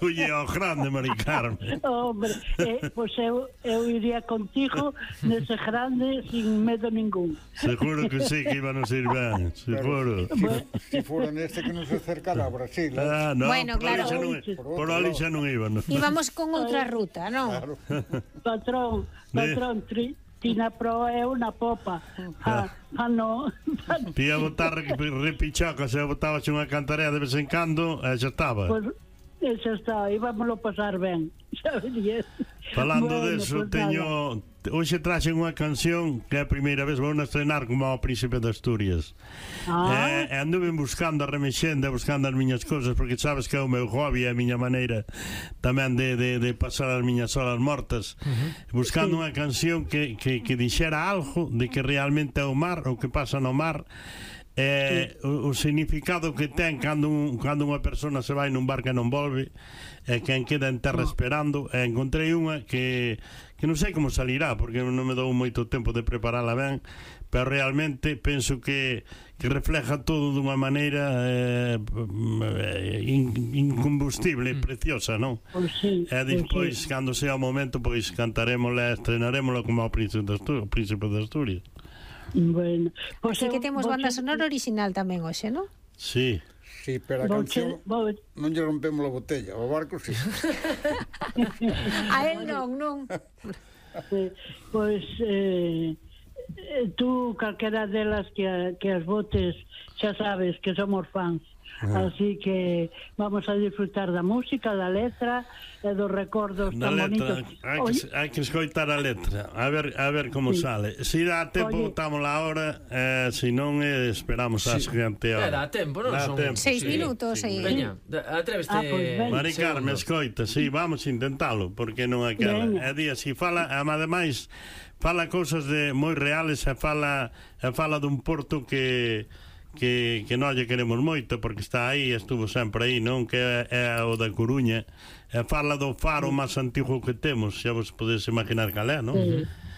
Culle ao grande, Mari Carmen. Hombre, pois eu iría contigo nese grande sin medo ningún. Seguro que sí, que íbamos a ir ben, seguro. Se fora neste que nos acercara a Brasil. No, Bueno, claro. Por ali xa non íbamos. Íbamos con outra ruta, non? Claro. Patrón, Tina proa é unha popa. No. Ti a botar repichacas, e botabas unha cantarela de vez en cando, e xa estaba. Pois, xa está, íbamoslo pasar ben, xa verías. Falando deso, teño... Hoxe traxen unha canción que é a primeira vez vou a estrenar como ao Príncipe de Asturias. E anduve buscando a remexenda, buscando as miñas cousas, porque sabes que é o meu hobby, a miña maneira tamén de pasar as miñas horas mortas, buscando unha canción que dixera algo de que realmente é o mar, o que pasa no mar, o significado que ten cando unha persona se vai nun barco e non volve, e quen queda en terra esperando. E encontrei unha que non sei como salirá, porque non me dou moito tempo de preparala ben, pero realmente penso que refleja todo dunha maneira incombustible, preciosa, non? E despois, cando sea o momento, pois cantarémola, estrenarémola como ao Príncipe de Asturias. Bueno, Así que temos banda sonora original tamén hoxe, non? Sí. Sí, pero a canción non lle rompemos a botella, o barco sí. A él non. Pois tú, calquera delas que as botes, xa sabes que somos fans. Así que vamos a disfrutar da música, da letra e dos recordos tan bonitos. Hai que escoitar a letra, a ver como sale. Se dá tempo, botamos a hora, se non esperamos a seguinte hora. Dá tempo, non? Son 6 minutos aí. Veña, atreveste. Mari Carmen, escoita, sí, vamos a intentalo, porque non aquela. É día, si fala, ademais, fala cousas moi reales, e fala dun porto que non lle queremos moito, porque está aí, estuvo sempre aí, non? Que é o da Coruña, e fala do faro máis antigo que temos, xa vos podedes imaginar cal é, non?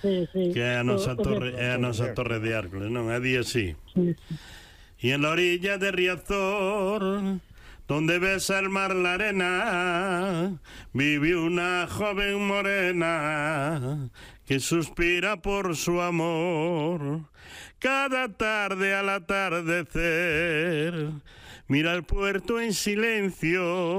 Que é a nosa torre de Hércules, non? É día así. Y en la orilla de Riazor, donde besa el mar la arena, vive una joven morena que suspira por su amor. Cada tarde al atardecer mira el puerto en silencio